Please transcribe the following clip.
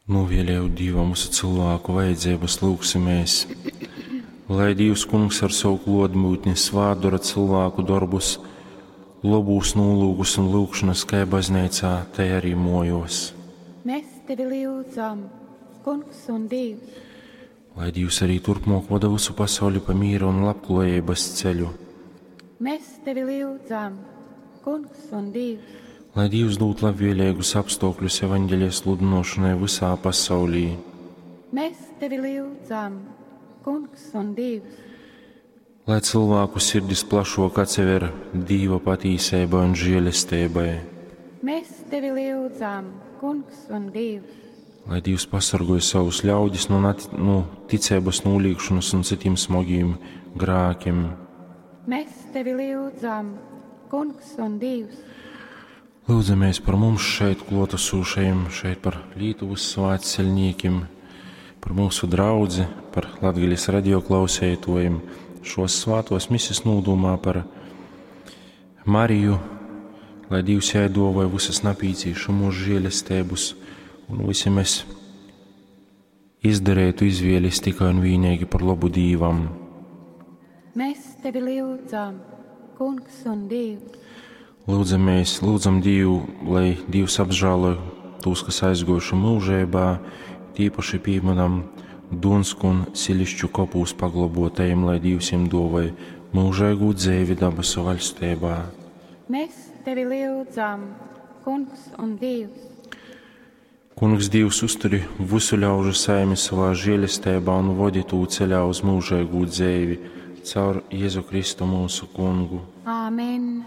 Nūvēlējot Dīvam visu cilvēku vajadzības, lūgsimies, lai Dīvs Kungs ar savu klōtbūtni svātdora cilvēku dorbus, lobūs nūlūkus un lūgšanas kai bazneicā, tai arī mojos. Mēs tevi lyudzam, Kungs un Dievs. Lai Dievs arī turpmāk vada visu pasauli pa mīra un labklājības ceļu. Mēs tevi lyudzam, Kungs un Dievs. Lai Dievs dod labvēlīgus apstākļus evaņģēlijas sludināšanai visā pasaulī. Mēs tevi lyudzam, Kungs un Dievs. Lai cilvēku sirdis plašāk atsever Dieva patīsībai un žēlastībai. Mēs tevi lyudzam, Kungs un Dievs. Lai Dievs pasargoja savus ļaudis no, no ticības nolīgšanas un citiem smagiem grēkiem. Mēs tevi lyudzam, Kungs un Dievs. Lūdzamies par mums šeit klātesošajiem, šeit par Lietuvas svētceļniekiem, par mūsu draudzi, par Latgales radioklausētojiem, šos svētos misis nūdumā par Mariju, lai Dievs jai dāvāja visas napīcīšamos žēlestības, un visi mēs izdarētu izvēles tikai un vienīgi par labu Dīvam. Mēs tevi lyudzam, Kungs un Dievs. Lūdzamies, lūdzam Dievu, lai Dievs apžēlo tos, kas aizgojuši mūžībā, tīpaši pieminam Dunsku un Silišķu kopūs paglobotajiem, lai Dievs jiem dāvāja mūžīgu dzīvi dabasu valstībā. Mēs tevi lyudzam, Kungs un Dievs. Kungs Dievs uzturi visu ļaužu saimi savā žēlestībā un vodi tū ceļā uz mūžīgu dzīvi caur Jēzu Kristu mūsu kungu. Āmen.